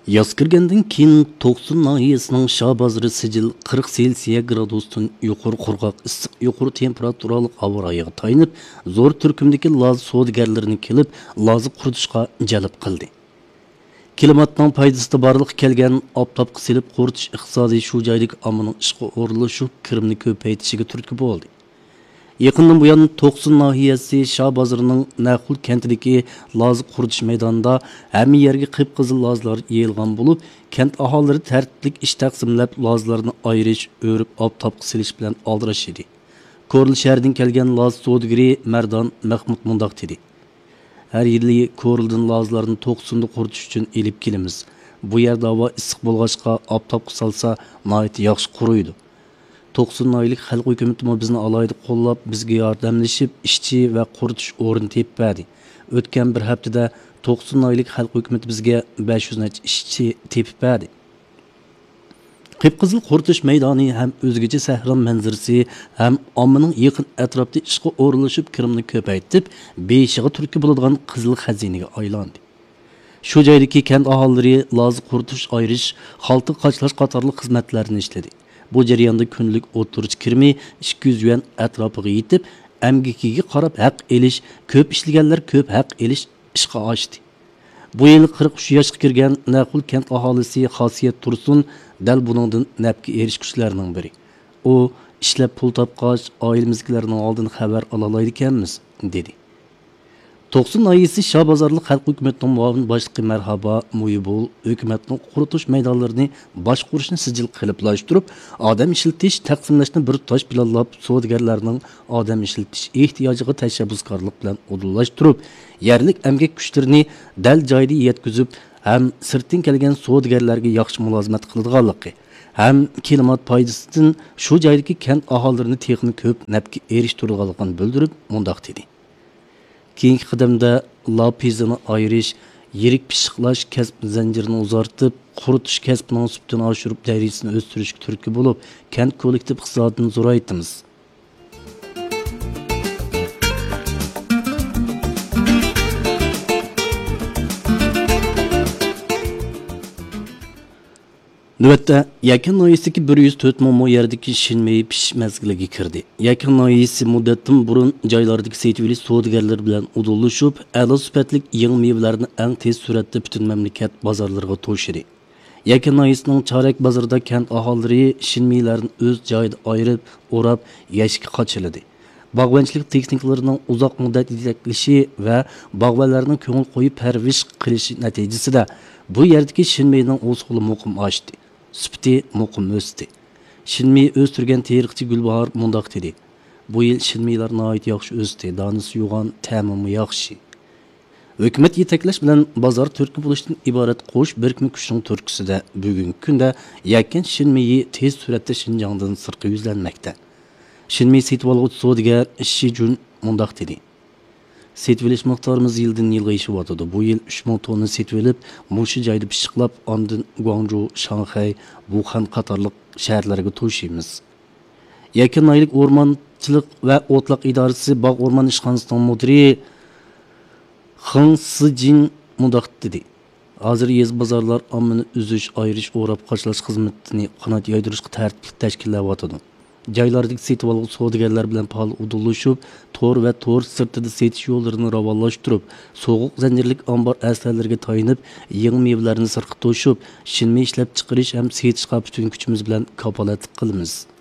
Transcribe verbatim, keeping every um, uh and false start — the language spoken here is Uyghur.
ياز كىرگەندىن كېيىن توقسۇن ناھىيەسىنىڭ شاھ بازىرى سىجىل قىرىق سېلسىيە گرادۇستىن يۇقىرى قۇرغاق ئىسسىق، يۇقىرى تېمپېراتۇرالىق ھاۋا رايىغا تايىنىپ، زور تۈركۈمدىكى لازا سودىگەرلىرىنى كېلىپ، لازا قۇرۇتۇشقا جەلپ قىلدى. كىلىماتنىڭ پايدىسىدا بارلىققا كەلگەن ئاپتاپقا سېلىپ قۇرۇتۇش ئىقتىسادى شۇ جايدىكى ئاممىنىڭ ئىشقا ئورۇنلىشىپ، كىرىمىنى كۆپەيتىشىگە تۈرتكە بولدى. يېقىندىن بۇيان، توقسۇن ناھىيەسى شاھ بازىرىنىڭ نەخۇل كەنتىدىكى لازا قۇرۇتۇش مەيدانىدا ھەممە يەرگە قىپقىزىل لازىلار يېيىلغان بولۇپ، كەنت ئاھالىلىرى تەرتىپلىك ئىش تەقسىملەپ، لازىلارنى ئايرىش، ئۆرۈپ، ئاپتاپقا سېلىش بىلەن ئالدىراش ئىدى. كورلا شەھىرىدىن كەلگەن لازا سودىگىرى مەردان مەخمۇت مۇنداق دېدى: «ھەر يىلى كورلىدىن لازىلارنى توقسۇندا قۇرۇتۇش ئۈچۈن ئېلىپ كېلىمىز. بۇ يەردە ھاۋا ئىسسىق بولغاچقا، ئاپتاپقا سالسا، ناھايىتى ياخشى قۇرۇيدۇ.» توقسۇن ناھىيەلىك خەلق ھۆكۈمىتىمۇ بىزنى ئالاھىدە قوللاپ، بىزگە ياردەملىشىپ، ئىشچى ۋە قۇرۇتۇش ئورنى تېپىپ بەردى. ئۆتكەن بىر ھەپتىدە توقسۇن ناھىيەلىك خەلق ھۆكۈمىتى بىزگە بەش يۈز نەچچە ئىشچى تېپىپ بەردى. قىپقىزىل قۇرۇتۇش مەيدانى ھەم ئۆزگىچە سەھرا مەنزىرىسى، ھەم ئاممىنىڭ يېقىن ئەتراپتا ئىشقا ئورۇنلىشىپ، كىرىمىنى كۆپەيتىپ، بېيىشىغا تۈرتكە بولىدىغان قىزىل خەزىنىگە ئايلاندى. شۇ جايدىكى كەنت ئاھالىلىرى لازا قۇرۇتۇش، ئايرىش، خالتا قاچىلاش قاتارلىق خىزمەتلەرنى ئىشلىدى. بۇ جەرياندا كۈندىلىك ئوتتۇرىچە كىرىمى ئىككى يۈز يۈەن ئەتراپىغا يېتىپ، ئەمگىكىگە قاراپ ھەق ئېلىش، كۆپ ئىشلىگەنلەر كۆپ ھەق ئېلىش ئىشقا ئاشتى. بۇ يىل قىرىق ئۈچ ياشقا كىرگەن نەخۇل كەنت ئاھالىسى خاسىيەت تۇرسۇن دەل بۇنىڭدىن نەپكە ئېرىشكۈچىلەرنىڭ بىرى. ئۇ، «ئىشلەپ پۇل تاپقاچ، ئائىلىمىزدىكىلەرنىڭ ئالدىن خەۋەر ئالالايدىكەنمىز» دېدى. توقسۇن ناھىيەسى شاھ بازارلىق خەلق ھۆكۈمىتىنىڭ مۇئاۋىن باشلىقى مەرھابا مۇيىبول ھۆكۈمەتنىڭ قۇرۇتۇش مەيدانلىرىنى باشقۇرۇشنى سىجىل قېلىپلاشتۇرۇپ، ئادەم ئىشلىتىش، تەقسىملەشنى بىر تۇتاش پىلانلاپ، سودىگەرلەرنىڭ ئادەم ئىشلىتىش ئېھتىياجىغا تەشەببۇسكارلىق بىلەن ئۇدۇللاشتۇرۇپ، يەرلىك ئەمگەك كۈچلىرىنى دەل جايىدا يەتكۈزۈپ ھەم سىرتتىن كەلگەن سودىگەرلەرگە ياخشى مۇلازىمەت قىلىدىغانلىقى ھەم كىلىمات پايدىسىدىن شۇ جايدىكى كەنت ئاھالىلىرىنى تېخىمۇ كۆپ نەپكە ئېرىشتۈرىدىغانلىقىنى بىلدۈرۈپ، مۇنداق دېدى. كېيىنكى قەدەمدە لاپىزىنى ئايرىش، يىرىك پىششىقلاش كەسىپ زەنجىرىنى ئۇزارتىپ، قۇرۇتۇش كەسپىنىڭ سۈپىتىنى ئاشۇرۇپ، دەرىجىسىنى ئۆستۈرۈشكە تۈرتكە بولۇپ، كەنت كوللېكتىپ ئىقتىسادىنى زورايتىمىز. نۆۋەتتە، يەكەن ناھىيەسىدىكى بىر يۈز تۆت مىڭ مو يەردىكى شىنمېيى پىشىش مەزگىلىگە كىردى. يەكەن ناھىيەسى مۇددەتتىن بۇرۇن جايلاردىكى سېتىۋېلىش سودىگەرلىرى بىلەن ئۇدۇللىشىپ، ئەلا سۈپەتلىك يېڭى مېۋىلەرنى ئەڭ تېز سۈرئەتتە پۈتۈن مەملىكەت بازارلىرىغا توشىدى. يەكەن ناھىيەسىنىڭ چارەك بازىرىدا كەنت ئاھالىلىرى شىنمېيىلەرنى ئۆز جايىدا ئايرىپ، ئوراپ، يەشىككە قاچىلىدى. باغۋەنچىلىك تېخنىكىلىرىنىڭ ئۇزاق مۇددەت يېتەكلىشى ۋە باغۋەنلەرنىڭ كۆڭۈل قويۇپ پەرۋىش قىلىشى نەتىجىسىدە، بۇ يەردىكى شىنمېيىنىڭ ھوسۇلى مۇقىم ئاشتى، سۈپىتى مۇقىم ئۆستى. شىنمېيى ئۆستۈرگەن تېرىقچى گۈلباھار مۇنداق دېدى: «بۇ يىل شىنمېيىلار ناھايىتى ياخشى ئۆستى، دانىسى يوغان، تەمىمۇ ياخشى.» ھۆكۈمەت يېتەكلەش بىلەن بازار تۈرتكە بولۇشتىن ئىبارەت قوش بىرىكمە كۈچنىڭ تۈرتكىسىدە، بۈگۈنكى كۈندە يەكەن شىنمېيى تېز سۈرئەتتە شىنجاڭدىن سىرتقا يۈزلەنمەكتە. شىنمېي سېتىۋالغۇچى سودىگەر شى جۈن مۇنداق دېدى: «سېتىۋېلىش مىقدارىمىز يىلدىن يىلغا ئېشىۋاتىدۇ. بۇ يىل ئۈچ مىڭ توننا سېتىۋېلىپ، مۇشۇ جايدا پىششىقلاپ، ئاندىن گۇاڭجۇ، شاڭخەي، ۋۇخەن قاتارلىق شەھەرلەرگە توشۇيمىز.» يەكەن ناھىيەلىك ئورمانچىلىق ۋە ئوتلاق ئىدارىسى باغ ئورمان ئىشخانىسىنىڭ مۇدىرى خېڭ سىجىن مۇنداق دېدى: «ھازىر يېزا بازارلار ئاممىنى ئۈزۈش، ئايرىش، ئوراپ قاچىلاش خىزمىتىنى قانات يايدۇرۇشقا تەرتىپلىك تەشكىللەۋاتىدۇ. جايلاردىكى سېتىۋالغۇچى سودىگەرلەر بىلەن پائال ئۇدۇللىشىپ، تور ۋە تور سىرتىدا سېتىش يوللىرىنى راۋانلاشتۇرۇپ، سوغۇق زەنجىرلىك ئامبار ئەسلىھەلىرىگە تايىنىپ، يېڭى مېۋىلەرنى سىرتقا توشۇپ، شىنمېي ئىشلەپچىقىرىش ھەم سېتىشقا پۈتۈن كۈچىمىز بىلەن كاپالەتلىك قىلىمىز.»